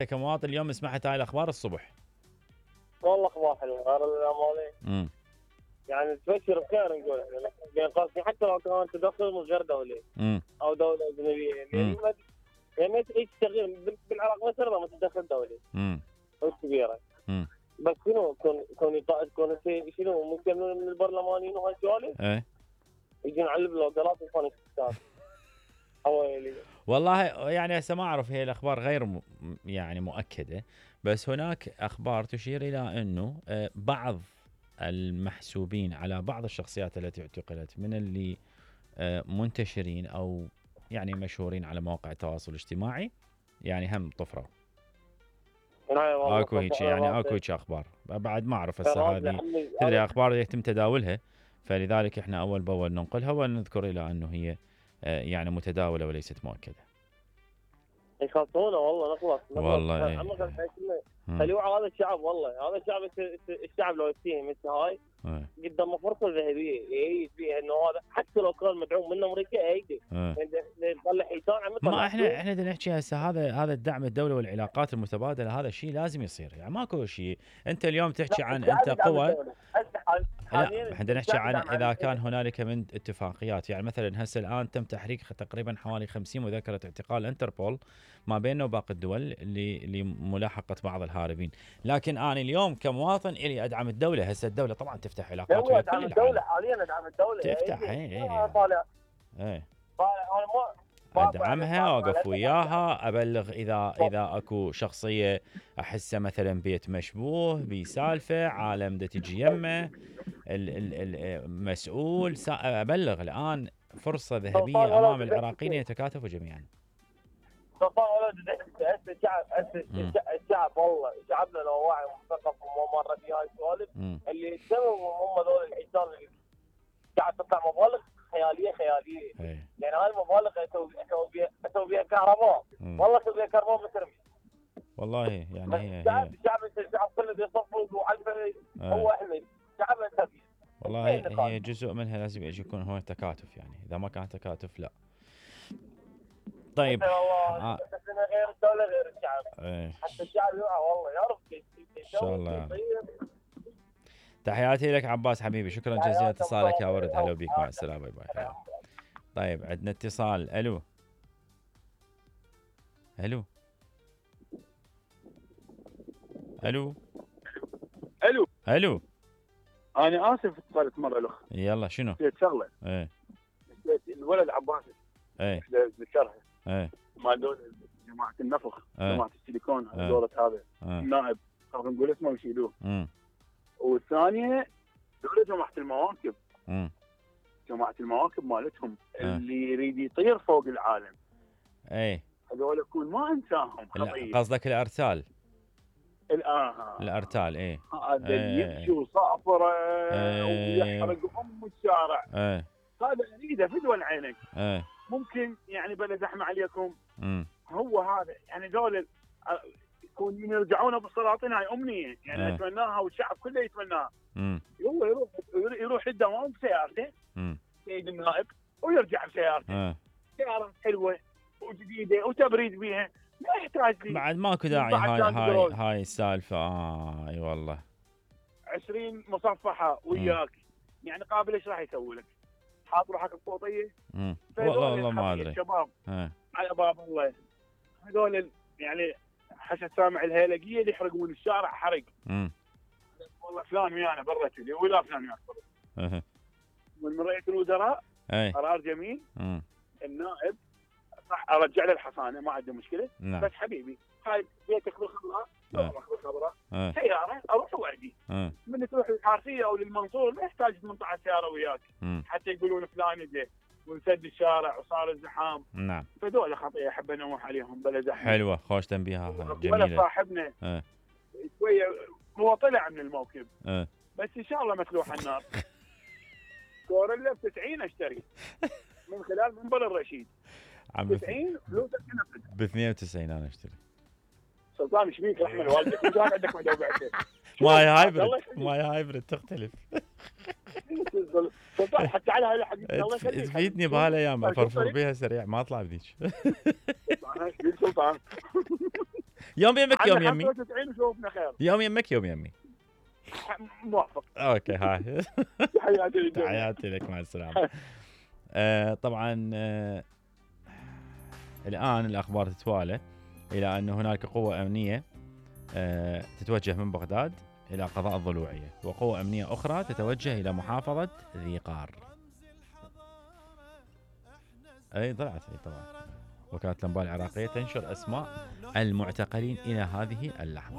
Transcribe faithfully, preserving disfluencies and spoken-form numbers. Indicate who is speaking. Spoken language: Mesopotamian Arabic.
Speaker 1: كمواطن اليوم سمعت هاي الاخبار الصبح.
Speaker 2: والله اخبار حلوه غير الامالي.
Speaker 1: امم
Speaker 2: يعني تبشر بخير نقول احنا بين قوسين حتى لو كان تدخل من غير دولي
Speaker 1: امم
Speaker 2: او دوله اجنبيه يعني ما يعني ما تعيش تغيير بالعراق بس ما تتدخل دولي.
Speaker 1: امم
Speaker 2: كبيره.
Speaker 1: امم
Speaker 2: بس شنو كون كون كون شنو ممكن من البرلمانيين وهالسوالف؟
Speaker 1: ايه
Speaker 2: يجون على البلوجرات ويفون الستات. حوالي
Speaker 1: والله يعني هسه ما اعرف، هي الاخبار غير م... يعني مؤكده، بس هناك اخبار تشير الى انه آه، بعض المحسوبين على بعض الشخصيات التي اعتقلت من اللي آه، منتشرين او يعني مشهورين على مواقع التواصل الاجتماعي، يعني هم طفروا. اكو هيك يعني اكو هيك اخبار، بعد ما اعرف هسه هذه تدري اخبار يتم تداولها، فلذلك احنا اول باول ننقلها ونذكر الى انه هي آه، يعني متداوله وليست مؤكده.
Speaker 2: يخلصونا والله نخلص نخلص
Speaker 1: والله ايه.
Speaker 2: خليوا هذا الشعب، والله هذا الشعب الشعب لو يفتهم مثل هاي
Speaker 1: ايه.
Speaker 2: قدامه فرصه ذهبيه يعيد فيها انه هذا حتى لو كان مدعوم من امريكا يعيده يطلع حيتان عم
Speaker 1: ما احنا احنا بدنا نحكي هسه هذا هذا الدعم الدولي والعلاقات المتبادله، هذا الشيء لازم يصير، يعني ماكو شيء. انت اليوم تحكي عن انت قوه، لا احنا نحكي عن اذا كان هنالك من اتفاقيات، يعني مثلا هسه الان تم تحريك تقريبا حوالي خمسين مذكره اعتقال انتربول ما بيننا وباقي الدول لملاحقه بعض الهاربين، لكن انا اليوم كمواطن الي ادعم الدوله. هسه الدوله طبعا تفتح علاقات ويا كل العالم.
Speaker 2: الدوله حاليا ادعم الدوله
Speaker 1: تفتح اي اي
Speaker 2: طالع
Speaker 1: اي
Speaker 2: طالع
Speaker 1: ادعمها واقف وياها، ابلغ اذا اذا اكو شخصيه احسه مثلا بيت مشبوه بسالفه عالم دا تجي يمه المسؤول، ابلغ. الان فرصه ذهبيه امام العراقيين يتكاتفوا جميعا.
Speaker 2: سلطان ولد الشعب الشعب والله شعبنا لو واعي ومثقف وما مر في هاي السوالف اللي يسووا هم ذول الحيتان اللي قاعد تطلع مبالغ خياليه خياليه.
Speaker 1: هي.
Speaker 2: يعني هاي المبالغ اسوي بيها اسوي بيها كهرباء، والله اسوي بيها كهرباء مترمي.
Speaker 1: والله يعني هي
Speaker 2: الشعب الشعب الشعب كله بيصفق وعلفه هو احمد شعبنا سبيل.
Speaker 1: والله هي, هي جزء منها لازم يكون هو تكاتف، يعني اذا ما كان تكاتف لا. طيب
Speaker 2: آه. بس غير الدوله غير الشعب.
Speaker 1: ايه.
Speaker 2: حتى الشعب يوعى والله يعرف
Speaker 1: ان شاء الله. تحياتي لك عباس حبيبي، شكرا جزيلا اتصالك يا ورد. هلا بيك، مع السلامه، باي باي. طيب عندنا اتصال. الو الو الو
Speaker 3: الو
Speaker 1: الو
Speaker 3: انا اسف اتصلت مره الاخ.
Speaker 1: يلا شنو؟
Speaker 3: نسيت شغله.
Speaker 1: ايه
Speaker 3: الولد عباس
Speaker 1: ايه
Speaker 3: ذكرها
Speaker 1: ايه
Speaker 3: مال دول جماعه النفخ
Speaker 1: ايه.
Speaker 3: جماعه السيليكون
Speaker 1: ايه.
Speaker 3: دولة هذا
Speaker 1: ايه.
Speaker 3: النائب خلينا نقول اسمه ويشيلوه.
Speaker 1: امم
Speaker 3: والثانيه دولة جماعه المواكب
Speaker 1: امم
Speaker 3: جماعه المواكب مالتهم
Speaker 1: ايه.
Speaker 3: اللي يريد يطير فوق العالم.
Speaker 1: ايه
Speaker 3: هذول يكون ما انساهم خطيه.
Speaker 1: قصدك الارتال؟
Speaker 3: الآه.
Speaker 1: الارتال ايه.
Speaker 3: هذا ايه. يمشي وصافره
Speaker 1: ايه.
Speaker 3: ويحرق ام الشارع.
Speaker 1: ايه.
Speaker 3: هذا اريده فدوى عينك.
Speaker 1: ايه.
Speaker 3: ممكن يعني بلا زحمه عليكم.
Speaker 1: امم
Speaker 3: هو هذا يعني دول يكون يرجعون بالسلاطين، هاي امنيه يعني
Speaker 1: ايه.
Speaker 3: اتمناها والشعب كله يتمناها.
Speaker 1: امم
Speaker 3: هو يروح يروح الدوام بسيارته سيد النائب ويرجع بسيارته.
Speaker 1: ايه.
Speaker 3: سياره حلوه وجديده وتبريد بيها، ما يحتاج لي
Speaker 1: بعد ماكو داعي هاي هاي هاي السالفه. اه اي والله
Speaker 3: عشرين مصفحه وياك. مم. يعني قابل ايش راح يسوي لك؟ حاط روحك بقوطيه.
Speaker 1: امم والله والله ما ادري.
Speaker 3: الشباب
Speaker 1: اه.
Speaker 3: على باب الله هذول يعني حسب سامع الهيلقيه اللي يحرقون الشارع حرق.
Speaker 1: امم
Speaker 3: والله فلان ويانا برا كذي ولا فلان ويانا برا.
Speaker 1: اها.
Speaker 3: من رئيس الوزراء
Speaker 1: اي
Speaker 3: قرار جميل.
Speaker 1: امم
Speaker 3: النائب راح ارجع له الحصانه ما عنده مشكله.
Speaker 1: نعم.
Speaker 3: بس حبيبي هاي بيتك بالخضراء روح بالخضراء
Speaker 1: اه.
Speaker 3: سياره اروح واجي.
Speaker 1: اه.
Speaker 3: من تروح للحارثيه او للمنصور ما يحتاج ثمانية عشر سياره وياك.
Speaker 1: مم.
Speaker 3: حتى يقولون فلان اجى ونسد الشارع وصار الزحام.
Speaker 1: نعم.
Speaker 3: فدول خطيه احب انوه عليهم بلا زحمه.
Speaker 1: حلوه خوش تنبيهها جميله.
Speaker 3: ولا صاحبنا
Speaker 1: اه.
Speaker 3: شويه هو طلع من الموكب.
Speaker 1: اه.
Speaker 3: بس ان شاء الله مسلوح النار. كوريلا ب تسعين اشتري من خلال منبر الرشيد.
Speaker 1: عم
Speaker 3: تسعين فلوسك تنفذ.
Speaker 1: ب اثنين وتسعين انا اشتري.
Speaker 3: سلطان ايش بيك رحمه والدك وكان عندك مدوبعته.
Speaker 1: ماي هايبرد ماي هايبرد تختلف.
Speaker 3: سلطان حتى على هاي الحديث الله يخليك.
Speaker 1: تفيدني بهالايام افرفر بيها سريع ما اطلع بذيك.
Speaker 3: سلطان
Speaker 1: يوم يمك يوم يمي.
Speaker 3: خمسة وتسعين وشوفنا خير.
Speaker 1: يوم يمك يوم يمي.
Speaker 3: موافق.
Speaker 1: اوكي هاي.
Speaker 3: تحياتي لك.
Speaker 1: تحياتي لك، مع السلامه. آه طبعا آه الان الاخبار تتوالى الى ان هناك قوه امنيه آه تتوجه من بغداد الى قضاء الضلوعيه، وقوه امنيه اخرى تتوجه الى محافظه ذي قار. اي طلعت اي طبعا وكالة الانباء العراقيه تنشر اسماء المعتقلين الى هذه اللحظه.